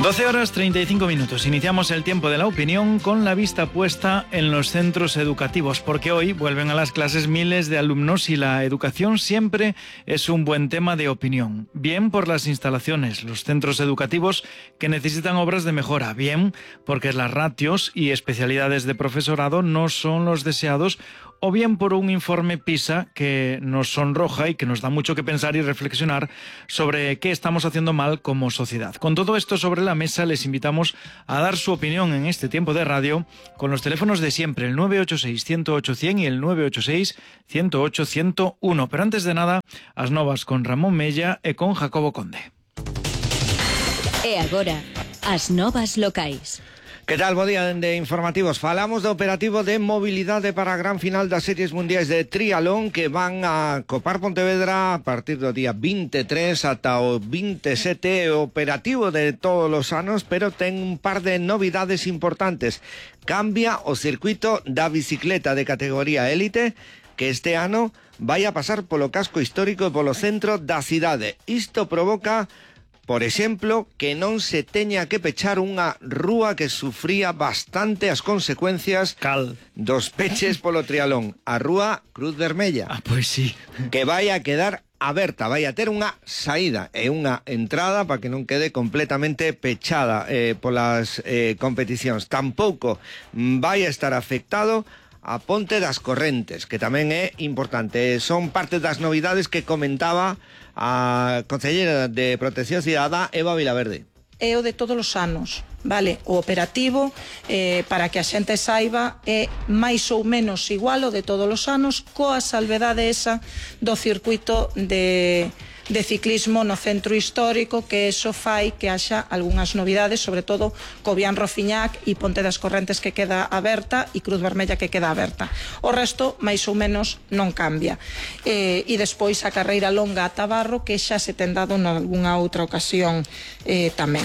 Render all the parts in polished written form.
12 horas 35 minutos. Iniciamos el tiempo de la opinión con la vista puesta en los centros educativos, porque hoy vuelven a las clases miles de alumnos y la educación siempre es un buen tema de opinión. Bien por las instalaciones, los centros educativos que necesitan obras de mejora. Bien porque las ratios y especialidades de profesorado no son los deseados, o bien por un informe PISA que nos sonroja y que nos da mucho que pensar y reflexionar sobre qué estamos haciendo mal como sociedad. Con todo esto sobre la mesa, les invitamos a dar su opinión en este tiempo de radio con los teléfonos de siempre, el 986-108-100 y el 986-108-101. Pero antes de nada, as novas con Ramón Mella e con Jacobo Conde. E agora, as novas locais. Que tal, bo día de informativos. Falamos do operativo de mobilidade para a gran final das series mundiais de triatlón que van a copar Pontevedra a partir do día 23 ata o 27, operativo de todos os anos, pero ten un par de novidades importantes. Cambia o circuito da bicicleta de categoría élite, que este ano vai a pasar polo casco histórico e polo centro da cidade. Isto provoca, por exemplo, que non se teña que pechar unha rúa que sufría bastante as consecuencias dos peches polo triatlón, a rúa Cruz Vermella. Pois sí. Que vai a quedar aberta, vai a ter unha saída e unha entrada para que non quede completamente pechada polas competicións. Tampouco vai a estar afectado a Ponte das Correntes, que tamén é importante. Son parte das novidades que comentaba a Conselleira de Protección Cidadá, Eva Vilaverde. É o de todos os anos, vale? O operativo, para que a xente saiba, é máis ou menos igual o de todos os anos, coa salvedade esa do circuito de ciclismo no centro histórico, que eso fai que haxa algunhas novidades, sobre todo Cobián Rofiñac e Ponte das Correntes, que queda aberta, e Cruz Vermella, que queda aberta. O resto, máis ou menos, non cambia. E despois a carreira longa a Tabarro, que xa se ten dado nalgúnha outra ocasión tamén.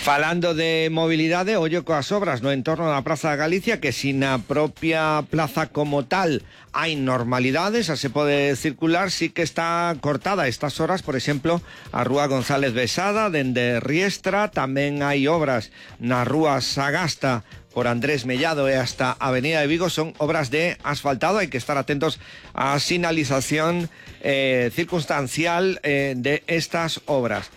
Falando de mobilidade, ollo coas obras no entorno da Praza da Galicia, que sin a propia plaza como tal hai normalidades, xa se pode circular, sí que está cortada a estas horas, por exemplo, a Rúa González Besada, dende Riestra. Tamén hai obras na Rúa Sagasta por Andrés Mellado e hasta Avenida de Vigo. Son obras de asfaltado, hai que estar atentos á sinalización circunstancial de estas obras.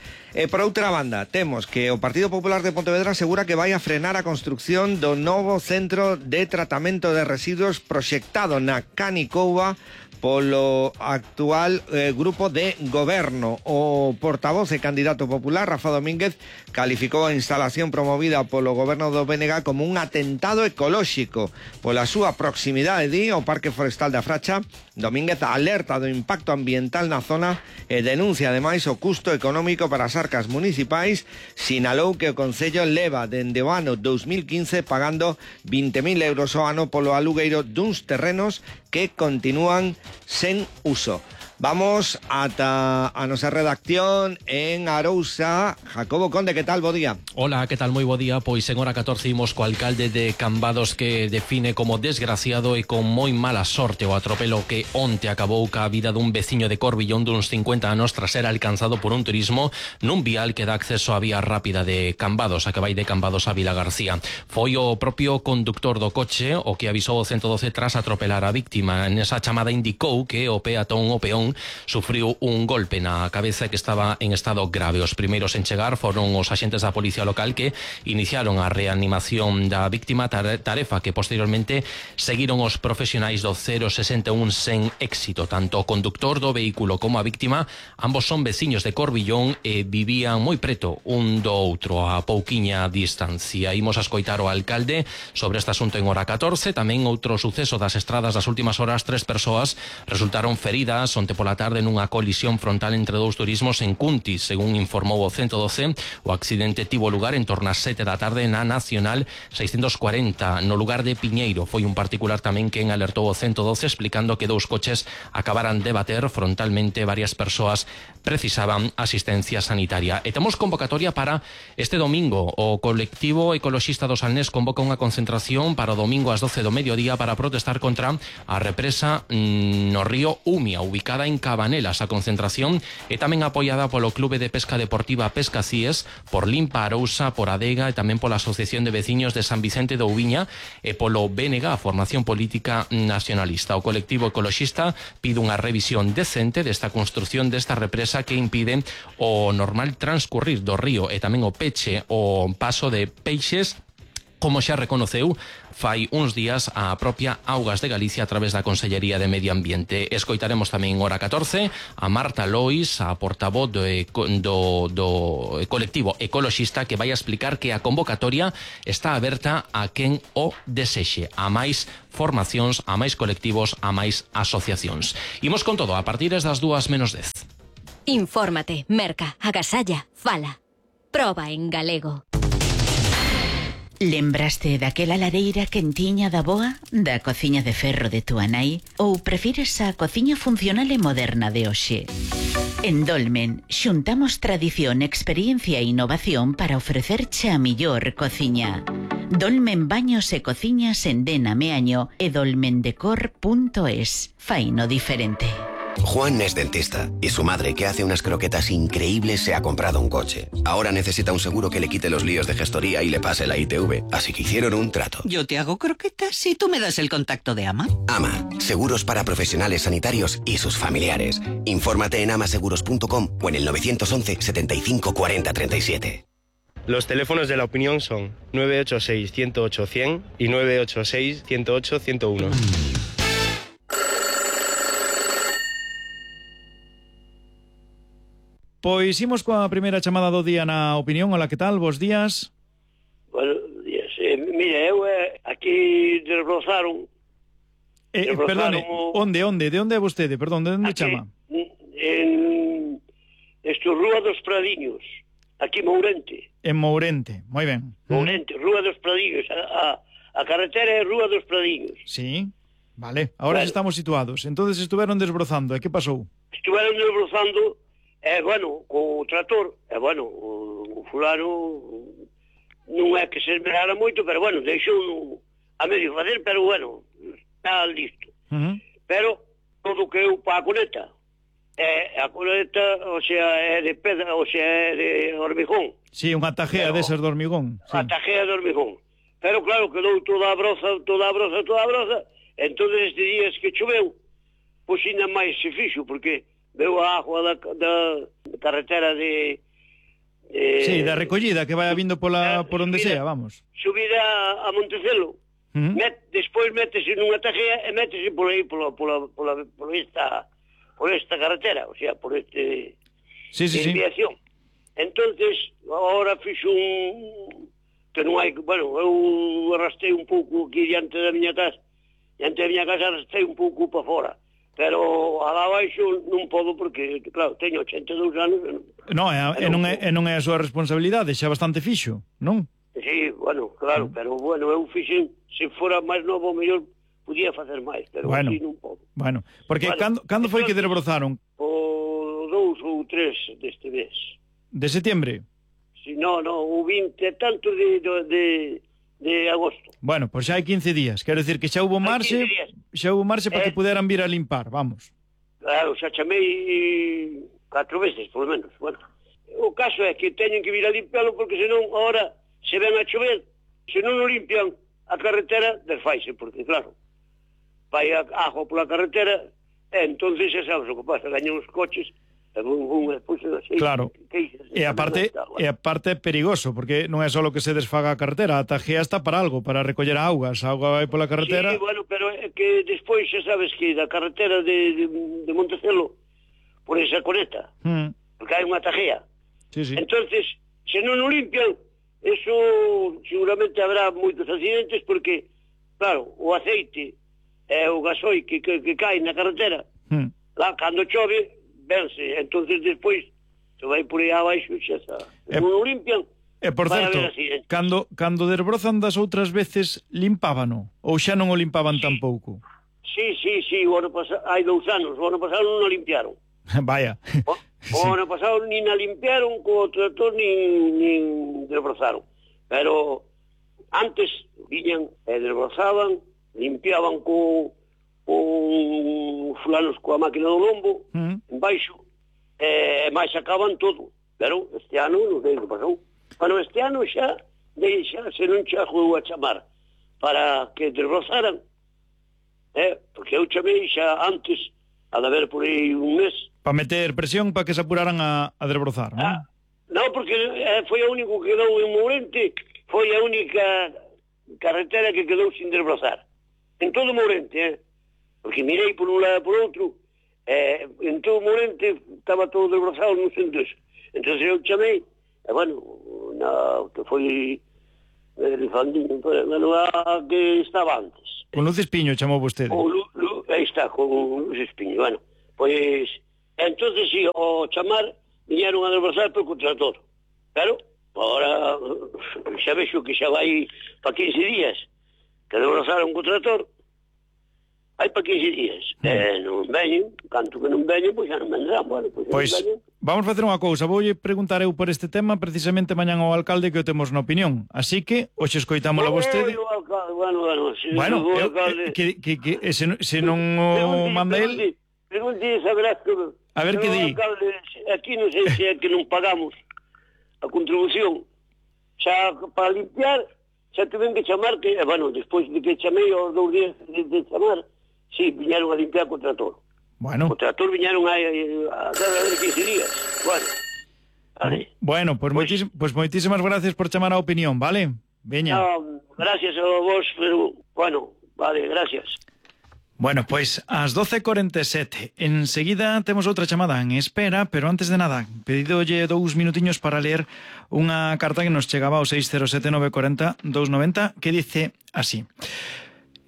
Por outra banda, temos que o Partido Popular de Pontevedra asegura que vai a frenar a construción do novo centro de tratamento de residuos proxectado na Canicouva polo actual grupo de goberno. O portavoz e candidato popular, Rafa Domínguez, calificou a instalación promovida polo goberno do BNG como un atentado ecolóxico pola súa proximidade ao Parque Forestal da Fracha. Domínguez alerta do impacto ambiental na zona e denuncia ademais o custo económico para as arcas municipais. Sinalou que o Concello leva dende o ano 2015 pagando 20.000 euros ao ano polo alugueiro duns terrenos que continúan sen uso. Vamos ata a nosa redacción en Arousa. Jacobo Conde, que tal? Bo día. Hola, que tal? Moi bo día. Pois en hora 14 imos co alcalde de Cambados, que define como desgraciado e con moi mala sorte o atropelo que onte acabou ca vida dun veciño de Corbillón duns 50 anos tras ser alcanzado por un turismo nun vial que dá acceso á vía rápida de Cambados, a que vai de Cambados a Vila García. Foi o propio conductor do coche o que avisou o 112 tras atropelar a víctima. Nesa chamada indicou que o peón sufriu un golpe na cabeza que estaba en estado grave. Os primeiros en chegar foron os axentes da policía local, que iniciaron a reanimación da víctima, tarefa que posteriormente seguiron os profesionais do 061 sen éxito. Tanto o conductor do vehículo como a víctima, ambos son veciños de Corbillón e vivían moi preto un do outro, a pouquiña distancia. Imos a escoitar o alcalde sobre este asunto en hora 14. Tamén outro suceso das estradas das últimas horas: 3 persoas resultaron feridas onte pola tarde nunha colisión frontal entre dous turismos en Cuntis. Según informou o 112, o accidente tivo lugar en torno ás 7 da tarde na Nacional 640, no lugar de Piñeiro. Foi un particular tamén quen alertou o 112, explicando que dous coches acabaran de bater frontalmente. Varias persoas precisaban asistencia sanitaria. E temos convocatoria para este domingo. O colectivo ecoloxista do Salnés convoca unha concentración para o domingo ás 12 do mediodía para protestar contra a represa no río Umia, ubicada celebrada en Cabanelas. A concentración é tamén apoiada polo Clube de Pesca Deportiva Pesca Cíes, por Limpa Arousa, por Adega e tamén pola Asociación de Veciños de San Vicente de Ouviña e polo BNG, a Formación Política Nacionalista. O colectivo ecoloxista pide unha revisión decente desta construción desta represa que impide o normal transcurrir do río e tamén o peche o paso de peixes, como xa reconoceu fai uns días a propia Augas de Galicia a través da Consellería de Medio Ambiente. Escoitaremos tamén hora 14 a Marta Lois, a portavoz do colectivo ecoloxista, que vai a explicar que a convocatoria está aberta a quen o desexe, a máis formacións, a máis colectivos, a máis asociacións. Imos con todo a partir das 2:10. Infórmate, merca, agasalla, fala. Proba en galego. Lembraste daquela lareira quentiña da boa, da cociña de ferro de túa nai, ou prefires a cociña funcional e moderna de hoxe? En Dolmen xuntamos tradición, experiencia e innovación para ofrecerche a millor cociña. Dolmen Baños e Cociñas en Dena Meaño e dolmendecor.es. Faino diferente. Juan es dentista y su madre, que hace unas croquetas increíbles, se ha comprado un coche. Ahora necesita un seguro que le quite los líos de gestoría y le pase la ITV, así que hicieron un trato. Yo te hago croquetas y tú me das el contacto de AMA. AMA, seguros para profesionales sanitarios y sus familiares. Infórmate en amaseguros.com o en el 911 75 40 37. Los teléfonos de la opinión son 986 108 100 y 986 108 101. Pois imos coa primeira chamada do día na opinión. Hola, que tal? Bos días. Buenos días. Mira, eu aquí desbrozaron... Perdone, onde? De onde é vostede? Perdón, de onde aquí, chama? En Rúa dos Pradiños, aquí Mourente. En Mourente, moi ben. Mourente, Rúa dos Pradiños, a carretera é Rúa dos Pradiños. Sí, vale, ahora estamos situados. Entonces estuveron desbrozando, e que pasou? Estuveron desbrozando... bueno, co trator, o fulano non é que se esmerara moito, pero bueno, deixou a medio fazer, pero bueno, está listo. Pero todo que eu pa a coneta, a coneta, o sea, é de pedra, o sea, é de hormigón. Sí, unha tajea desas de hormigón. A tajea de hormigón. Pero claro, quedou toda a broza, entonces estes días que choveu, pois ainda máis se fixo, porque veu a agua da carretera de... sí, da recollida que vai vindo por onde sea, vamos. Subida a Montecelo. Despois métese nunha tajea e métese por aí, por esta carretera, o sea, por este... desviación. Entonces, agora fixo que non hai... Bueno, eu arrastrei un pouco aquí diante da miña casa, arrastrei un pouco para fora. Pero a abaixo non podo porque, claro, teño 82 anos. Non é a súa responsabilidade, xa bastante fixo, non? Sí, bueno, claro, pero bueno, eu fixen, se fora máis novo, mellor podía facer máis, pero así non podo. Bueno, porque cando foi que desbrozaron? O 2 ou 3 deste mes. De setembro? Si, no, o 20 tanto de agosto. Bueno, pois xa hai 15 días. Quero dicir que xa hubo marxe para que puderan vir a limpar, vamos. Claro, xa chamei 4 veces, por lo menos. Bueno, o caso é que teñen que vir a limpiarlo porque senón ahora se ven a chover, se non o limpian a carretera desfaise, porque claro, vai a agua pola carretera e entonces xa sabes o que pasa, gañan os coches. Claro, e aparte é perigoso, porque non é só que se desfaga a carretera, a tajea está para algo, para recoller augas, a auga vai pola carretera. Sí, bueno, pero é que despois xa sabes que da carretera de Montecelo por esa coneta, porque hai unha tajea. Entonces, se non o limpian, eso seguramente habrá moitos accidentes, porque, claro, o aceite e o gasoil que cae na carretera, lá, cando chove, vense, entonces despois se vai por aí abaixo xa está. Non o limpian. E por certo, cando desbrozan das outras veces, limpábano? Ou xa non o limpaban tampouco? Sí, o ano pasado, hai 2 anos, o ano pasado non o limpiaron. Vaya. O ano pasado nin a limpiaron co trator, nin desbrozaron. Pero antes viñan e desbrozaban, limpiaban co con fulanos coa máquina do lombo, embaixo, e máis acaban todo. Pero este ano non sei o que pasou. Bueno, este ano xa se non chegou a chamar para que desbrozaran, porque eu chamei xa antes, a de haber por aí un mes. Para meter presión para que se apuraran a desbrozar, non? Non, porque foi o único que quedou en Mourente, foi a única carretera que quedou sin desbrozar. En todo Mourente, porque mirei por un lado e por outro, en todo Mourente estaba todo desbrozado non sei entonces. Entón eu chamei, e bueno, que foi Rifandinho, a que estaba antes. Con Luz Espiño chamou vostede. Aí está, con Luz Espiño, bueno. Pois, entonces si, o chamar, viñeron a desbrozar por contrator. Pero, agora, xa vexo que xa vai para 15 días que desbrozaron o contrator. Hai para 15 días. Non veñen, canto que non veñen, pois xa non vendrán. Bueno, pois vamos facer unha cousa. Voulle preguntar eu por este tema precisamente mañán ao alcalde que o temos na opinión. Así que, hoxe escoitámoslo a vostede. Bueno, se non o manda el... Pregunte, saberás que... A ver que di. Aquí non sei se é que non pagamos a contribución. Xa para limpiar, xa tuven que chamar, que, bueno, despois de que chamei aos 2 días de chamar, sí, viñeron a limpiar co trator. Bueno. O trator viñeron a cada 15 días. Bueno, vale. Bueno, pues moitísimas gracias por chamar a opinión, vale? Veña. No, gracias a vos, pero, bueno, vale, gracias. Bueno, pois ás 12:47. Enseguida temos outra chamada en espera, pero antes de nada, pedidolle 2 minutiños para ler unha carta que nos chegaba ao 607-940-290 que dice así: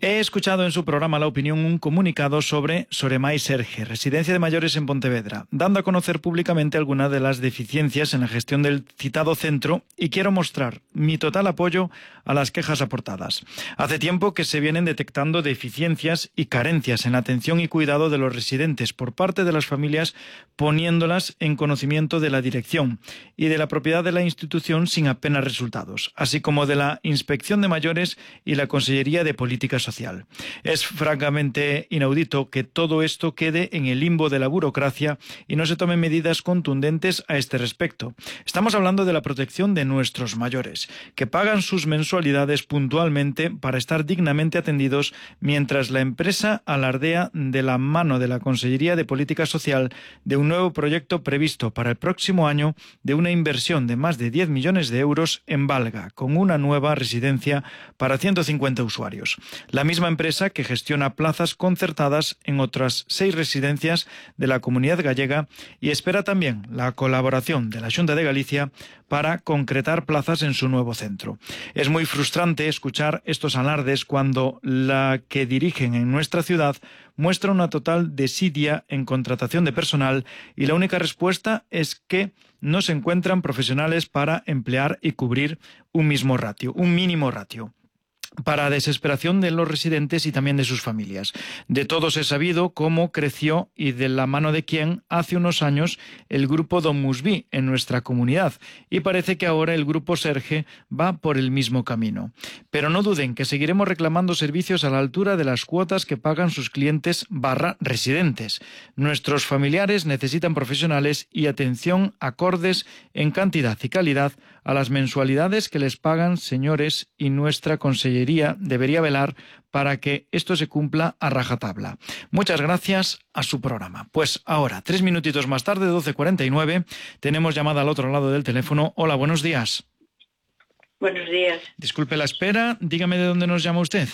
he escuchado en su programa La Opinión un comunicado sobre Soremai Serge, residencia de mayores en Pontevedra, dando a conocer públicamente algunas de las deficiencias en la gestión del citado centro y quiero mostrar mi total apoyo a las quejas aportadas. Hace tiempo que se vienen detectando deficiencias y carencias en la atención y cuidado de los residentes por parte de las familias, poniéndolas en conocimiento de la dirección y de la propiedad de la institución sin apenas resultados, así como de la Inspección de Mayores y la Consellería de Política Social. Es francamente inaudito que todo esto quede en el limbo de la burocracia y no se tomen medidas contundentes a este respecto. Estamos hablando de la protección de nuestros mayores, que pagan sus mensualidades puntualmente para estar dignamente atendidos, mientras la empresa alardea de la mano de la Consellería de Política Social de un nuevo proyecto previsto para el próximo año de una inversión de más de 10 millones de euros en Valga, con una nueva residencia para 150 usuarios. La misma empresa que gestiona plazas concertadas en otras 6 residencias de la Comunidad Gallega y espera también la colaboración de la Xunta de Galicia para concretar plazas en su nuevo centro. Es muy frustrante escuchar estos alardes cuando la que dirigen en nuestra ciudad muestra una total desidia en contratación de personal y la única respuesta es que no se encuentran profesionales para emplear y cubrir un mínimo ratio. Para desesperación de los residentes y también de sus familias. De todos he sabido cómo creció y de la mano de quién hace unos años el grupo Don Musví en nuestra comunidad y parece que ahora el grupo Serge va por el mismo camino. Pero no duden que seguiremos reclamando servicios a la altura de las cuotas que pagan sus clientes / residentes. Nuestros familiares necesitan profesionales y atención acordes en cantidad y calidad a las mensualidades que les pagan, señores, y nuestra consellería debería velar para que esto se cumpla a rajatabla. Muchas gracias a su programa. Pues ahora, 3 minutitos más tarde, 12:49, tenemos llamada al otro lado del teléfono. Hola, buenos días. Buenos días. Disculpe la espera, dígame de dónde nos llama usted.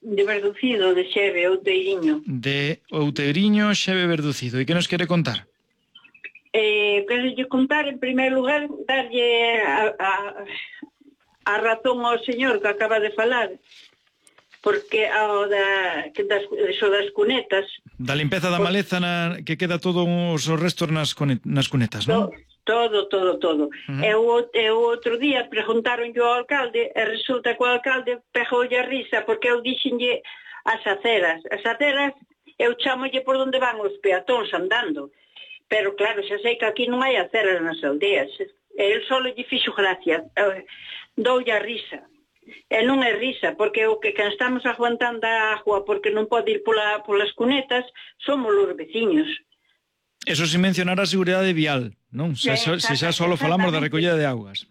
De Verducido, de Xeve, Outeiriño. De Outeiriño, Xeve, Verducido. ¿Y qué nos quiere contar? Quero contar, en primer lugar, darlle a razón ao señor que acaba de falar, porque das cunetas... Da limpeza da maleza que queda todo os restos nas cunetas, non? Todo. E o outro día preguntaron ao alcalde e resulta que o alcalde pegoulle a risa porque eu dixenlle as aceras. As aceras eu chamolle por onde van os peatóns andando. Pero claro, xa sei que aquí non hai aceras nas aldeas. E el solo lle fixo gracia. Doulle a risa. E non é risa, porque o que estamos aguantando a agua porque non pode ir polas cunetas somos os veciños. Eso sin mencionar a seguridade vial, non? Se xa solo falamos da recollida de augas.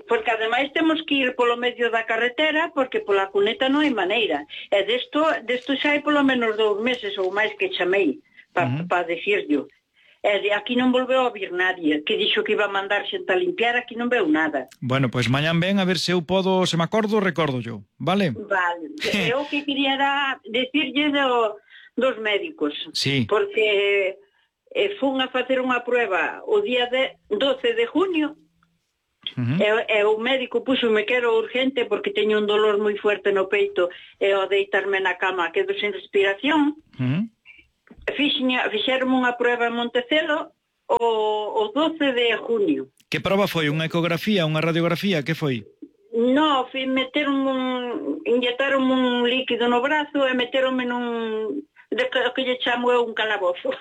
Porque ademais temos que ir polo medio da carretera porque pola cuneta non hai maneira. E desto xa hai polo menos 2 meses ou máis que chamei para decirlo. E de aquí non volveu a vir nadie, que dixo que iba a mandar xente a limpiar, aquí non veu nada. Bueno, pois mañán ven a ver se eu podo, se me acordo, recordo yo, vale? Vale, eu que quería era decirlle dos médicos, sí. Porque fun a facer unha prueba o día 12 de junio, e o médico puxome que era urgente porque teño un dolor moi fuerte no peito e ao deitarme na cama quedo sin respiración. Fixeron unha prueba en Montecelo o 12 de junio. Que prova foi? Unha ecografía, unha radiografía? Que foi? No, inyectaron un líquido no brazo e meteronme que lle chamo eu un calabozo.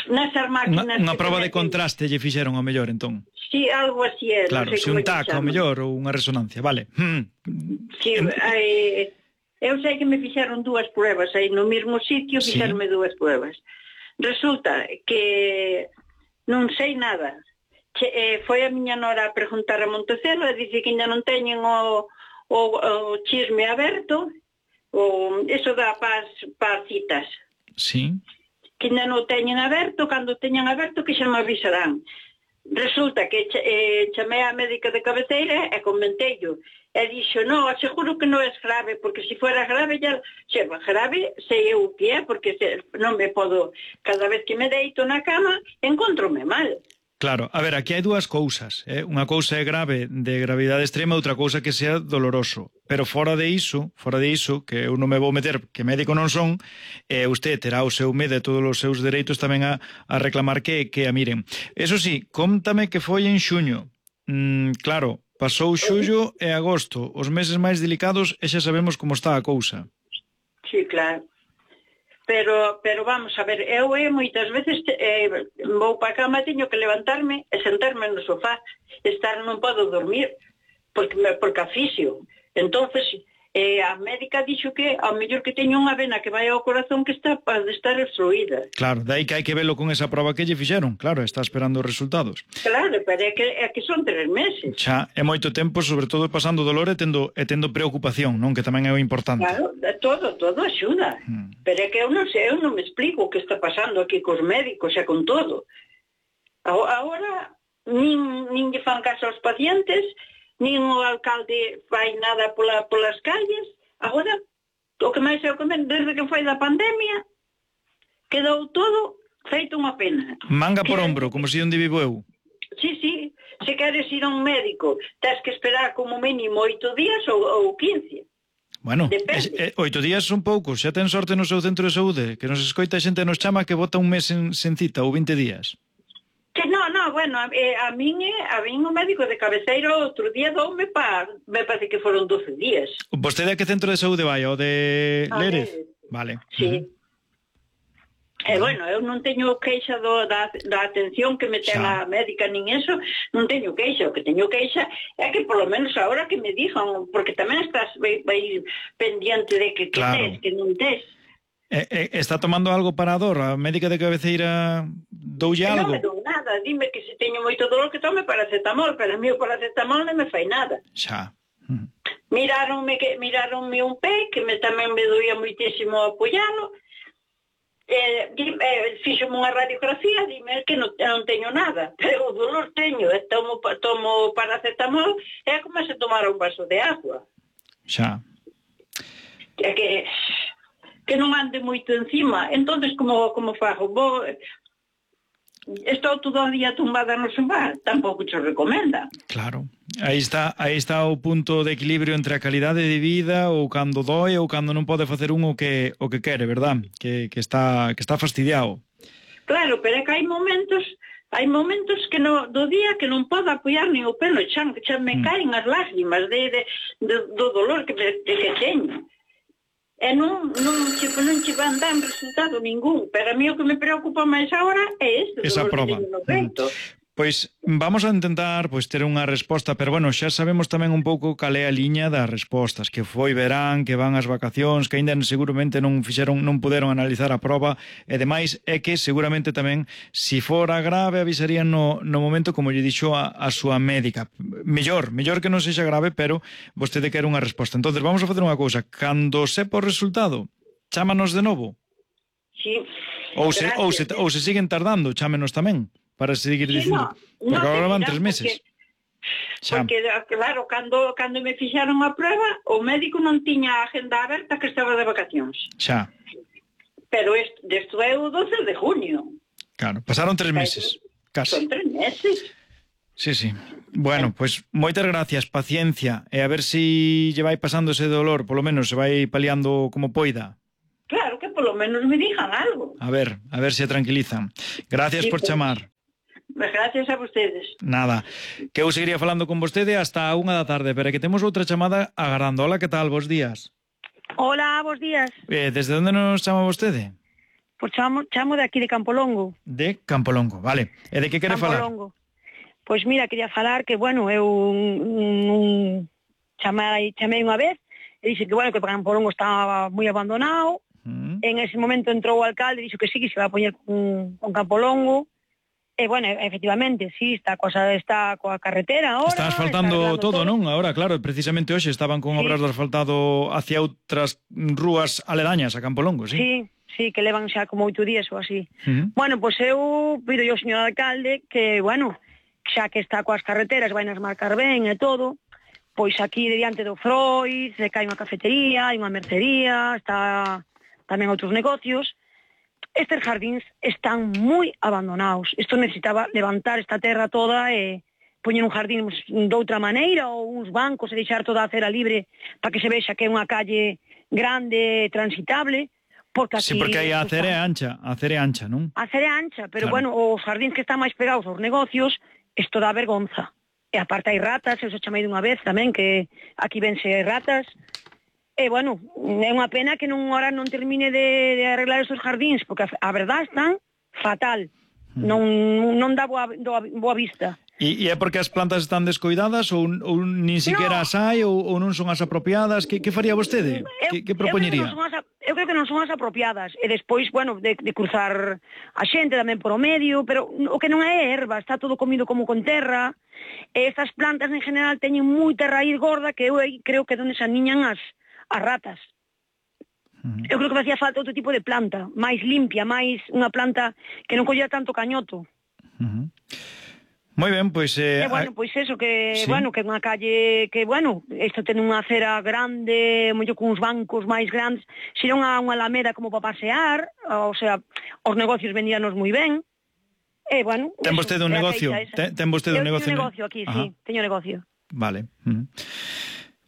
Nesas máquinas... Unha prova de contraste lle fixeron ao mellor, entón? Sí, algo así é. Claro, se un tac ao mellor ou unha resonancia, vale. Sí, eu sei que me fixeron 2 pruebas aí no mesmo sitio, fixeronme 2 pruebas. Resulta que non sei nada. Foi a miña nora a preguntar a Montecelo e dice que ainda non teñen o chisme aberto, eso dá para citas. Sí. Que ainda non teñen aberto, cando teñan aberto que xa me avisarán. Resulta que chamei a médica de cabeceira e comenteillo. E dixo, no, aseguro que non é grave, porque se fuera grave, grave sei eu o que é, porque non me podo, cada vez que me deito na cama, encontrome mal. Claro, a ver, aquí hai 2 cousas. Unha cousa é grave, de gravidade extrema, outra cousa que sea doloroso. Pero fora de iso, que eu non me vou meter, que médico non son, usted terá o seu medo e todos os seus dereitos tamén a reclamar que a miren. Eso sí, cóntame que foi en xuño. Claro, pasou xullo e agosto, os meses máis delicados, e xa sabemos como está a cousa. Sí, claro. Pero vamos a ver, eu moitas veces vou para a cama, teño que levantarme e sentarme no sofá, non podo dormir, porque asfixio. Entonces, a médica dixo que ao mellor que teño unha vena que vai ao corazón que está para estar obstruída. Claro, dai que hai que velo con esa prova que lle fixeron, claro, está esperando os resultados. Claro, pero é que son 3 meses. Xa, é moito tempo, sobre todo pasando dolor e tendo preocupación, non? Que tamén é o importante. Claro, todo axuda. Pero é que eu non sei, eu non me explico o que está pasando aquí cos médicos e con todo. Agora, nin lle fan caso aos pacientes, nin o alcalde fai nada polas calles. Agora, o que máis eu comento, desde que foi da pandemia, quedou todo feito unha pena. Manga por ombro, como se onde vivo eu. Sí, se queres ir a un médico, tens que esperar como mínimo 8 días ou 15. Bueno, 8 días son poucos, xa ten sorte no seu centro de saúde, que nos escoita xente nos chama que bota un mes sen cita ou 20 días. Que no, bueno, a min o médico de cabeceira outro día doume me parece que foron 12 días. Vostede a que centro de saúde vai? O de Lérez? Vale. Sí. Bueno, eu non teño queixa da atención que me ten a médica nin eso, non teño queixa. O que teño queixa é que polo menos agora que me dixan, porque tamén estás vai pendiente de que tes, que non tes. Está tomando algo para a dor? A médica de cabeceira doulle algo? Non me dou nada, dime que se teño moito dolor que tome paracetamol, pero a mí o paracetamol non me fai nada. Xa. Miráronme un pé, que tamén me doía moitísimo apoialo, fixome unha radiografía, dime que non teño nada, pero o dolor teño, tomo paracetamol, é como se tomara un vaso de agua. Xa. Que non ande moito encima, entonces como fago? Estou todo o día tumbada no sofá, tampouco te recomenda. Claro, aí está o punto de equilibrio entre a calidade de vida ou cando doe ou cando non pode facer o que quere, verdad? Que está fastidiado. Claro, pero é que hai momentos que do día que non podo apoiar nin o pelo, xa me caen as lágrimas do dolor que teño. E non che van dar resultado ningún, pero a mí o que me preocupa máis agora é isto. Esa prova. Pois vamos a intentar ter unha resposta, pero bueno, xa sabemos tamén un pouco cal é a liña das respostas, que foi verán, que van as vacacións, que aínda seguramente non puderon analizar a proba, e demais é que seguramente tamén, se fora grave, avisarían no momento, como lle dixo a súa médica. Mellor que non sexa grave, pero vostede quere unha resposta. Entonces vamos a facer unha cousa, cando sepa o resultado, chámanos de novo. Sí. Ou se siguen tardando, chámenos tamén. Para seguir dicindo, porque agora van 3 meses. Porque, claro, cando me fixaron a prueba, o médico non tiña a agenda aberta, que estaba de vacacións. Xa. Pero isto é o 12 de junio. Claro, pasaron 3 meses, casi. Son 3 meses. Sí. Bueno, pois moitas gracias, paciencia, e a ver se lle vai pasando ese dolor, polo menos se vai paliando como poida. Claro, que polo menos me digan algo. A ver se tranquilizan. Gracias por chamar. Gracias a vostedes. Nada, que eu seguiría falando con vostede hasta a 1 da tarde, pero que temos outra chamada agardando. Hola, que tal? Bos días. Hola, bos días. Desde onde nos chama vostede? Pois chamo de aquí de Campolongo. De Campolongo, vale. E de que quere falar? Campolongo. Pois mira, quería falar que, bueno, eu chamei unha vez e dixen que, bueno, que Campolongo estaba moi abandonado. En ese momento entrou o alcalde e dixo que sí, que se va a poñer con Campolongo. E, bueno, efectivamente, sí, está coa carretera ahora. Está asfaltando todo, non? Ahora, claro, precisamente hoxe estaban con obras de asfaltado hacia outras rúas aledañas a Campolongo, sí? Sí, que levan xa como 8 días ou así. Bueno, pois eu pido ao señor alcalde que, bueno, xa que está coas carreteras, vai nas marcar ben e todo, pois aquí diante do Freud, se cae unha cafetería, hai unha mercería, está tamén outros negocios. Estes jardíns están moi abandonados. Isto necesitaba levantar esta terra toda e poñer un jardín de outra maneira, ou uns bancos e deixar toda a acera libre para que se vexa que é unha calle grande, transitable, porque aquí... Sí, porque aí a acera é ancha, non? A acera é ancha, pero, claro. Bueno, os jardíns que están máis pegados aos negocios, isto dá vergonza. E aparte hai ratas, eu se chamei dunha vez tamén, que aquí vense ratas. E, bueno, é unha pena que ahora non termine de arreglar esos jardíns, porque a verdad están fatal. Non dá boa vista. E é porque as plantas están descoidadas ou nin siquiera as hai ou non son as apropiadas? Que faría vostede? Que propoñería? Eu creo que non son as apropiadas. E despois, bueno, de cruzar a xente tamén por o medio, pero o que non é erva, está todo comido como con terra. E estas plantas en general teñen moita raíz gorda que eu creo que onde se aniñan as ratas. Eu creo que facía falta outro tipo de planta, máis limpia, máis unha planta que non collera tanto cañoto. Moi ben, pois... bueno, pois eso, que, sí. Bueno, que unha calle, que, bueno, isto ten unha acera grande, mollo con uns bancos máis grandes, xera unha alameda como para pasear, o sea, os negocios vendíanos moi ben, e, bueno... Ten vostede un negocio? Ten vostede un negocio? Eu teño negocio aquí, sí, teño negocio. Vale.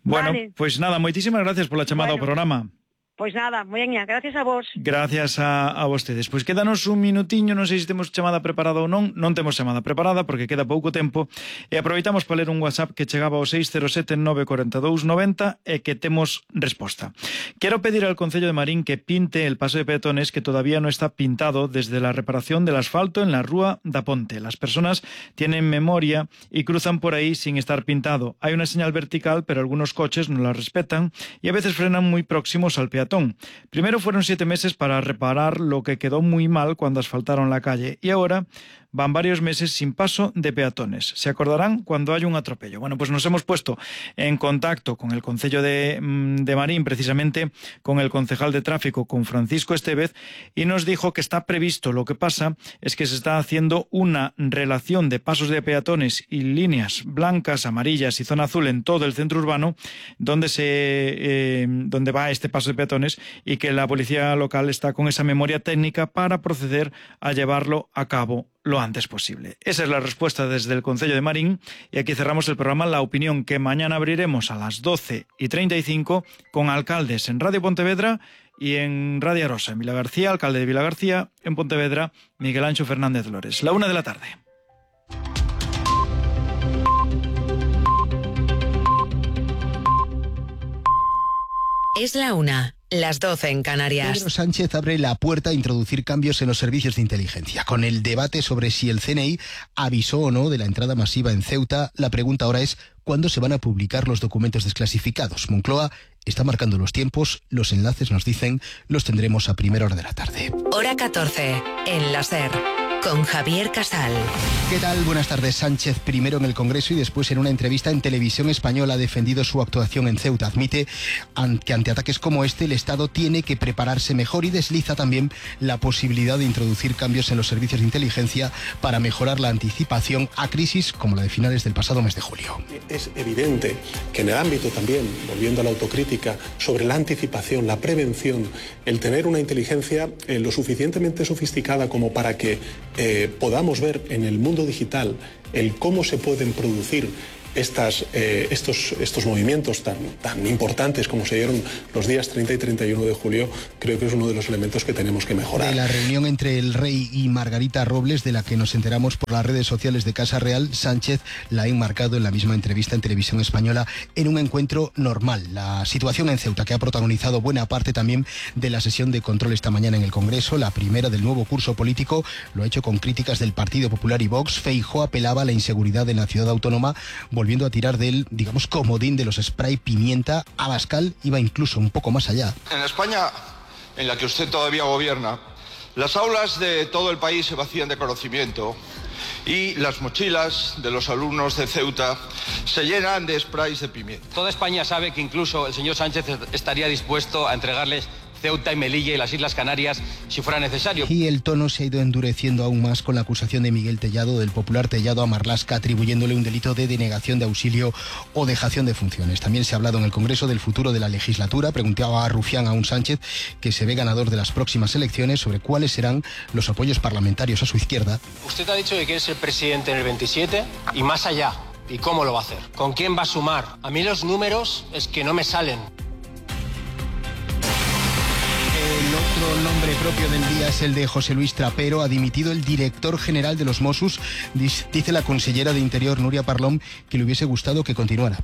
Bueno, pois nada, moitísimas gracias pola chamada ao programa. Pois nada, moiña, gracias a vos. Gracias a vostedes. Pois quédanos un minutiño, non sei se temos chamada preparada ou non. Non temos chamada preparada porque queda pouco tempo. E aproveitamos para ler un WhatsApp que chegaba ao 607-942-90 e que temos resposta. Quiero pedir al Concello de Marín que pinte el paso de peatones que todavía no está pintado desde la reparación del asfalto en la Rúa da Ponte. Las personas tienen memoria y cruzan por ahí sin estar pintado. Hay una señal vertical, pero algunos coches no la respetan y a veces frenan muy próximos al peatón. Primero fueron 7 meses para reparar lo que quedó muy mal cuando asfaltaron la calle y ahora van varios meses sin paso de peatones. Se acordarán cuando hay un atropello. Bueno, pues nos hemos puesto en contacto con el Concello de Marín, precisamente con el concejal de tráfico, con Francisco Estevez, y nos dijo que está previsto. Lo que pasa es que se está haciendo una relación de pasos de peatones y líneas blancas, amarillas y zona azul en todo el centro urbano donde va este paso de peatones y que la policía local está con esa memoria técnica para proceder a llevarlo a cabo lo antes posible. Esa es la respuesta desde el Concello de Marín y aquí cerramos el programa La Opinión, que mañana abriremos a las 12:35 con alcaldes en Radio Pontevedra y en Radio Arosa. En Vilagarcía, alcalde de Vilagarcía, en Pontevedra, Miguel Anxo Fernández Lores. 1:00 p.m. Es la 1:00. las 12 en Canarias. Pedro Sánchez abre la puerta a introducir cambios en los servicios de inteligencia. Con el debate sobre si el CNI avisó o no de la entrada masiva en Ceuta, la pregunta ahora es ¿cuándo se van a publicar los documentos desclasificados? Moncloa está marcando los tiempos, los enlaces nos dicen, los tendremos a primera hora de la tarde. Hora 14, en la SER, con Javier Casal. ¿Qué tal? Buenas tardes. Sánchez primero en el Congreso y después en una entrevista en Televisión Española ha defendido su actuación en Ceuta. Admite que ante ataques como este el Estado tiene que prepararse mejor y desliza también la posibilidad de introducir cambios en los servicios de inteligencia para mejorar la anticipación a crisis como la de finales del pasado mes de julio. Es evidente que en el ámbito también, volviendo a la autocrítica, sobre la anticipación, la prevención, el tener una inteligencia lo suficientemente sofisticada como para que podamos ver en el mundo digital el cómo se pueden producir estos movimientos tan importantes como se dieron los días 30 y 31 de julio, creo que es uno de los elementos que tenemos que mejorar. De la reunión entre el rey y Margarita Robles, de la que nos enteramos por las redes sociales de Casa Real, Sánchez la ha enmarcado en la misma entrevista en Televisión Española en un encuentro normal. La situación en Ceuta, que ha protagonizado buena parte también de la sesión de control esta mañana en el Congreso, la primera del nuevo curso político, lo ha hecho con críticas del Partido Popular y Vox. Feijóo apelaba a la inseguridad en la ciudad autónoma, volviendo a tirar del, digamos, comodín de los spray pimienta. Abascal iba incluso un poco más allá. En España, en la que usted todavía gobierna, las aulas de todo el país se vacían de conocimiento y las mochilas de los alumnos de Ceuta se llenan de sprays de pimienta. Toda España sabe que incluso el señor Sánchez estaría dispuesto a entregarles Ceuta y Melilla y las Islas Canarias si fuera necesario. Y el tono se ha ido endureciendo aún más con la acusación de Miguel Tellado, del popular Tellado, a Marlaska, atribuyéndole un delito de denegación de auxilio o dejación de funciones. También se ha hablado en el Congreso del futuro de la legislatura. Preguntaba a Rufián a un Sánchez que se ve ganador de las próximas elecciones sobre cuáles serán los apoyos parlamentarios a su izquierda. Usted ha dicho que quiere ser presidente en el 27 y más allá. ¿Y cómo lo va a hacer? ¿Con quién va a sumar? A mí los números es que no me salen. El otro nombre propio del día es el de José Luis Trapero. Ha dimitido el director general de los Mossos. Dice la consellera de Interior, Núria Parlon, que le hubiese gustado que continuara.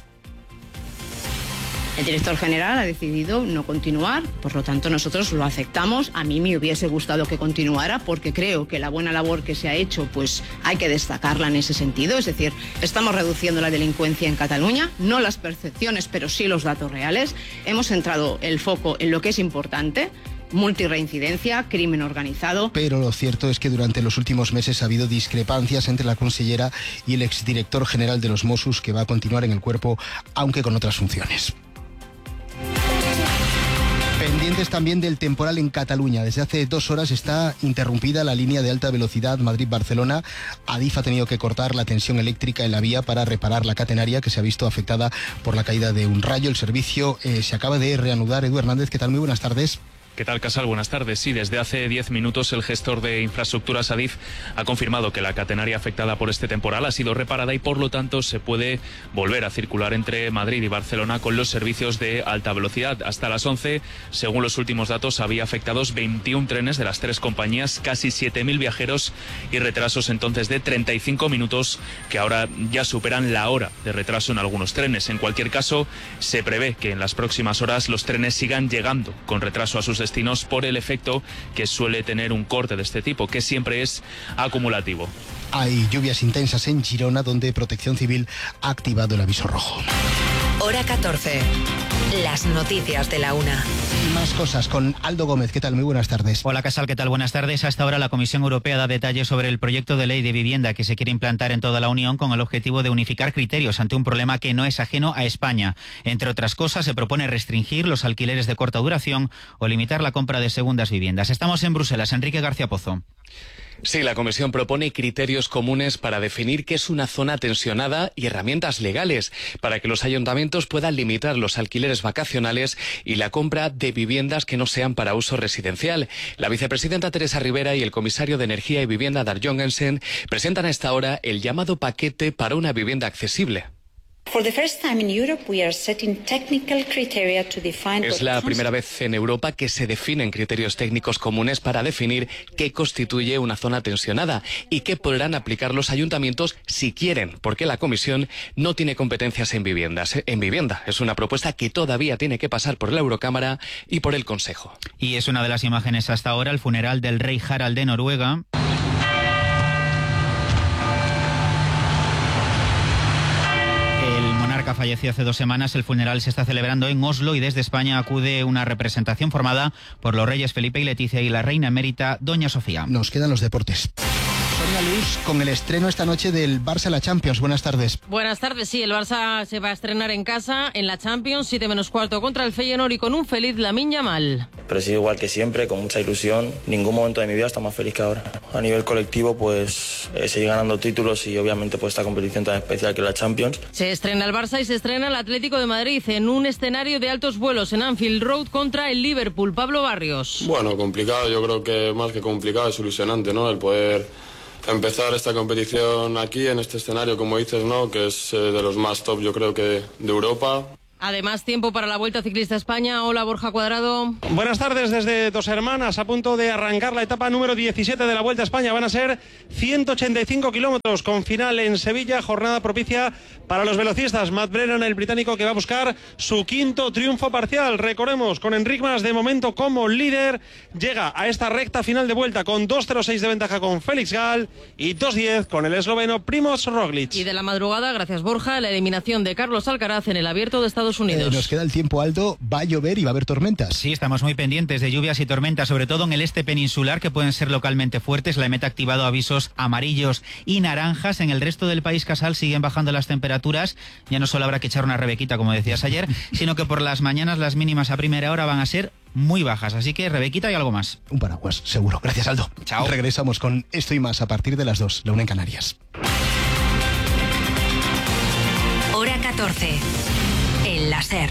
El director general ha decidido no continuar, por lo tanto nosotros lo aceptamos. A mí me hubiese gustado que continuara porque creo que la buena labor que se ha hecho pues hay que destacarla en ese sentido. Es decir, estamos reduciendo la delincuencia en Cataluña, no las percepciones pero sí los datos reales. Hemos centrado el foco en lo que es importante: multirreincidencia, crimen organizado. Pero lo cierto es que durante los últimos meses ha habido discrepancias entre la consellera y el exdirector general de los Mossos, que va a continuar en el cuerpo aunque con otras funciones. Pendientes también del temporal en Cataluña. Desde hace 2 horas está interrumpida la línea de alta velocidad Madrid-Barcelona. Adif ha tenido que cortar la tensión eléctrica en la vía para reparar la catenaria, que se ha visto afectada por la caída de un rayo. El servicio se acaba de reanudar. Edu Hernández, ¿qué tal? Muy buenas tardes. ¿Qué tal, Casal? Buenas tardes. Sí, desde hace 10 minutos el gestor de infraestructuras Adif ha confirmado que la catenaria afectada por este temporal ha sido reparada y por lo tanto se puede volver a circular entre Madrid y Barcelona con los servicios de alta velocidad. Hasta las 11, según los últimos datos, había afectados 21 trenes de las 3 compañías, casi 7.000 viajeros y retrasos entonces de 35 minutos que ahora ya superan la hora de retraso en algunos trenes. En cualquier caso, se prevé que en las próximas horas los trenes sigan llegando con retraso a sus destinos por el efecto que suele tener un corte de este tipo, que siempre es acumulativo. Hay lluvias intensas en Girona, donde Protección Civil ha activado el aviso rojo. Hora 14. Las noticias de la una. Y más cosas con Aldo Gómez. ¿Qué tal? Muy buenas tardes. Hola, Casal. ¿Qué tal? Buenas tardes. Hasta ahora la Comisión Europea da detalles sobre el proyecto de ley de vivienda que se quiere implantar en toda la Unión con el objetivo de unificar criterios ante un problema que no es ajeno a España. Entre otras cosas, se propone restringir los alquileres de corta duración o limitar la compra de segundas viviendas. Estamos en Bruselas. Enrique García Pozo. Sí, la Comisión propone criterios comunes para definir qué es una zona tensionada y herramientas legales para que los ayuntamientos puedan limitar los alquileres vacacionales y la compra de viviendas que no sean para uso residencial. La vicepresidenta Teresa Rivera y el comisario de Energía y Vivienda, Dar Jongensen, presentan a esta hora el llamado paquete para una vivienda accesible. Es la primera vez en Europa que se definen criterios técnicos comunes para definir qué constituye una zona tensionada y qué podrán aplicar los ayuntamientos si quieren, porque la Comisión no tiene competencias en vivienda. Es una propuesta que todavía tiene que pasar por la Eurocámara y por el Consejo. Y es una de las imágenes hasta ahora, el funeral del rey Harald de Noruega. Falleció hace 2 semanas. El funeral se está celebrando en Oslo y desde España acude una representación formada por los reyes Felipe y Leticia y la reina emérita Doña Sofía. Nos quedan los deportes. Sonia Luz, con el estreno esta noche del Barça en la Champions. Buenas tardes. Buenas tardes, sí, el Barça se va a estrenar en casa en la Champions, 7:15 contra el Feyenoord y con un feliz Lamine Yamal. Pero he sido igual que siempre, con mucha ilusión. Ningún momento de mi vida está más feliz que ahora. A nivel colectivo, pues seguir ganando títulos y obviamente pues esta competición tan especial que es la Champions. Se estrena el Barça y se estrena el Atlético de Madrid en un escenario de altos vuelos en Anfield Road contra el Liverpool. Pablo Barrios. Bueno, complicado, yo creo que más que complicado es ilusionante, ¿no? El poder empezar esta competición aquí, en este escenario, como dices, ¿no? Que es de los más top, yo creo que de Europa. Además, tiempo para la Vuelta Ciclista España. Hola, Borja Cuadrado. Buenas tardes desde Dos Hermanas, a punto de arrancar la etapa número 17 de la Vuelta a España. Van a ser 185 kilómetros con final en Sevilla, jornada propicia para los velocistas. Matt Brennan, el británico, que va a buscar su 5º triunfo parcial. Recordemos, con Enric Mas de momento como líder, llega a esta recta final de vuelta con 2:06 de ventaja con Félix Gall y 2:10 con el esloveno Primož Roglič. Y de la madrugada, gracias Borja, la eliminación de Carlos Alcaraz en el Abierto de Estados Unidos. Nos queda el tiempo, Aldo. Va a llover y va a haber tormentas. Sí, estamos muy pendientes de lluvias y tormentas, sobre todo en el este peninsular, que pueden ser localmente fuertes. La EMET ha activado avisos amarillos y naranjas. En el resto del país, Casal, siguen bajando las temperaturas. Ya no solo habrá que echar una rebequita, como decías ayer, sino que por las mañanas las mínimas a primera hora van a ser muy bajas. Así que rebequita y algo más. Un paraguas, seguro. Gracias, Aldo. Chao. Regresamos con esto y más a partir de las 2, la 1 en Canarias. Hora 14. El láser.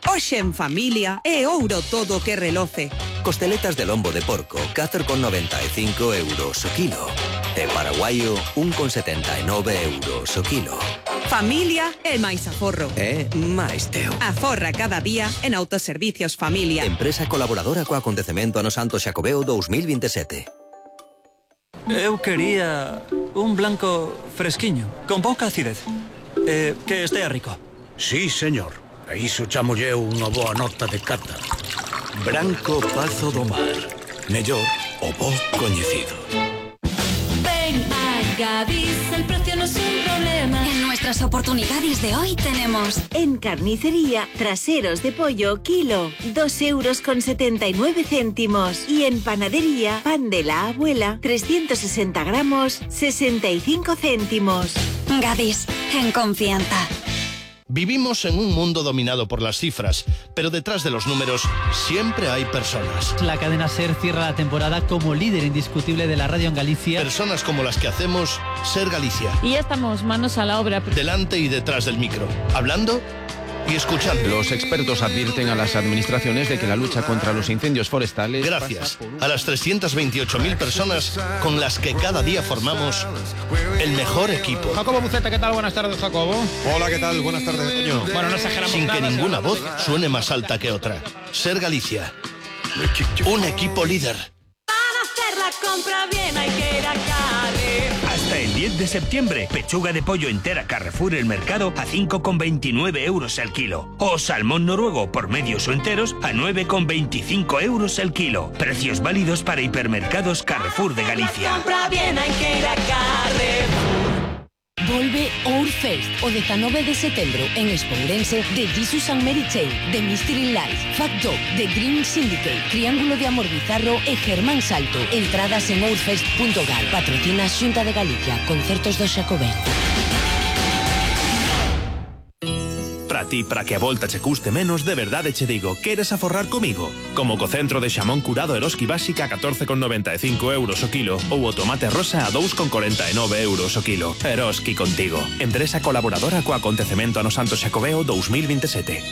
Hoxe en familia é ouro todo que reloce. Costeletas de lombo de porco, 4,95 euros o kilo. E paraguaio, 1,79 euros o kilo. Familia é máis aforro. É máis teu. Aforra cada día en Autoservicios Familia. Empresa colaboradora co acontecemento ano Santo Xacobeo 2027. Eu quería un blanco fresquiño, con pouca acidez. Que estea rico. Sí, señor. A iso chamolle unha boa nota de cata. Branco Pazo do Mar. Mellor o bo coñecido. Ven a Gadis, el precio no es un problema. En nuestras oportunidades de hoy tenemos en carnicería, traseros de pollo, kilo, 2,79 euros. Y en panadería, pan de la abuela, 360 gramos, 65 céntimos. Gadis, en confianza. Vivimos en un mundo dominado por las cifras, pero detrás de los números siempre hay personas. La cadena SER cierra la temporada como líder indiscutible de la radio en Galicia. Personas como las que hacemos SER Galicia. Y ya estamos manos a la obra. Delante y detrás del micro, hablando y escuchando. Los expertos advierten a las administraciones de que la lucha contra los incendios forestales... Gracias a las 328.000 personas con las que cada día formamos el mejor equipo. Jacobo Buceta, ¿qué tal? Buenas tardes, Jacobo. Hola, ¿qué tal? Buenas tardes, Toño. Bueno, no exageramos Sin nada, que ninguna voz suene más alta que otra. SER Galicia. Un equipo líder. Para hacer la compra bien hay que ir a Carrefour. Hasta el 10 de septiembre, pechuga de pollo entera Carrefour El Mercado a 5,29 euros el kilo. O salmón noruego por medios o enteros a 9,25 euros el kilo. Precios válidos para hipermercados Carrefour de Galicia. Compra bien hay que ir a Carrefour. Volve Outfest o 19 de setembro en Espourense de Jesus and Mary Chain, de Mystery Life, Fat Dog, de Green Syndicate, Triángulo de Amor Bizarro e Germán Salto. Entradas en outfest.gal. Patrocina Xunta de Galicia. Concertos do Xacobeo. Para ti, para que a volta che custe menos, de verdade che digo, queres aforrar comigo? Como co centro de xamón curado Eroski Básica a 14,95 euros o kilo ou o tomate rosa a 2,49 euros o kilo. Eroski contigo. Empresa colaboradora co acontecemento ano Santo Xacobeo 2027.